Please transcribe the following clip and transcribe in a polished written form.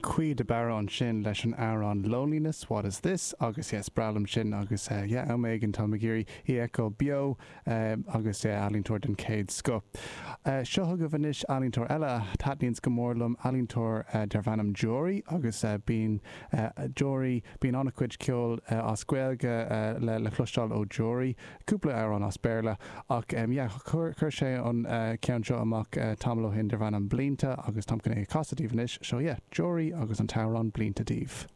Caoi de Barra ansin leis an amhrán Loneliness, What Is This? agus yeah, is breá liom sin agus yeah, am éigin táim ag iarraidh í a fheiceáil beo agus yeah, ealaíontóir den chéad scoth. Seo chugaibh anois ealaíontóir eile a thaitníonns go mór liom, ealaíontóir darb ainm Jory agus bíonn Jory, bíonn an-chuid ceoil as Gaeilge le le cloisteáil ó Jory. Cúpla amhrán as Béarla ach yeah chuir sé an ceann seo amach tamall ó shin darb ainm Blianta agus táim chun é a chasadh daoibh anois. So yeah, Jory agus an t-amhrán Blianta daoibh.